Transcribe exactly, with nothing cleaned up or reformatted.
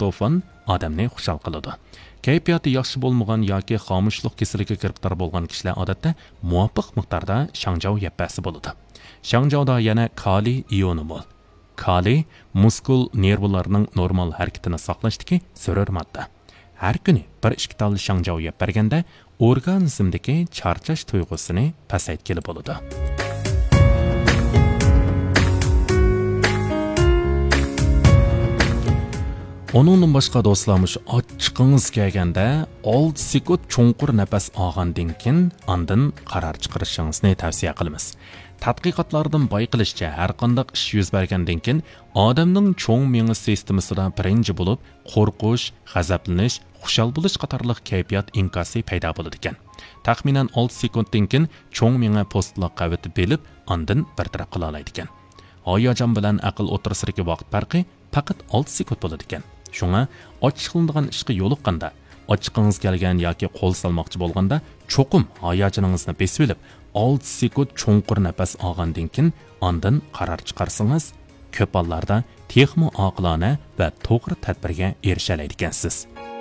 ترىپتوفان ئادەمنى خۇشال قىلىدۇ. كەيپىياتى ياخشى بولمىغان ياكى خامۇشلۇق كېسىلىگە گىرىپتار بولغان كىشىلەر ئادەتتە مۇۋاپىق مىقداردا شاڭجاۋ يەپ بەرسە بولىدۇ. شاڭجاۋدا يەنە كالىي ئىيونى مول. كالىي مۇسكۇل نېرۋىلارنىڭ نورمال ھەرىكىتىنى ساقلاشتىكى زۆرۈر ماددا. ھەر كۈنى بىر ئىككى تال شاڭجاۋ يەپ بەرگەندە، ئورگانىزمدىكى چارچاش تۇيغۇسىنى پەسەيتكىلى بولىدۇ. ئۇنىڭدىن باشقا دوستلار، مۇشۇ ئاچچىقىڭىز كەلگەندە ئالتە سېكۇنت چوڭقۇر نەپەس ئالغاندىن كېيىن ئاندىن قارار چىقىرىشىڭىزنى تەۋسىيە قىلىمىز. تەتقىقاتلاردىن بايقىلىشىچە، ھەر قانداق ئىش يۈز بەرگەندىن كېيىن ئادەمنىڭ چوڭ مېڭە سىستېمىسىدا بىرىنچى بولۇپ قورقۇش، غەزەپلىنىش، خۇشال بولۇش قاتارلىق كەيپىيات ئىنكاسى پەيدا بولىدىكەن. تەخمىنەن ئالتە سېكۇنتتىن كېيىن چوڭ مېڭە پوستىلاق قەۋىتى بېلىپ، ئاندىن بىر تەرەپ قىلالايدىكەن. ھاياجان بىلەن ئەقىل ئوتتۇرىسىدىكى ۋاقىت پەرقى پەقەت ئالتە سېكۇنت بولىدىكەن. شۇڭا ئاچچىقلىنىدىغان ئىشقا يولۇققاندا، ئاچچىقىڭىز كەلگەن ياكى قول سالماقچى بولغاندا، چوقۇم ھاياجىنىڭىزنى بېسىۋېلىپ، ئالتە سېكۇنت چوڭقۇر نەپەس ئالغاندىن كېيىن ئاندىن قارار چىقارسىڭىز، كۆپ ھاللاردا تېخىمۇ ئاقىلانە ۋە توغرا تەدبىرگە ئېرىشەلەيدىكەنسىز.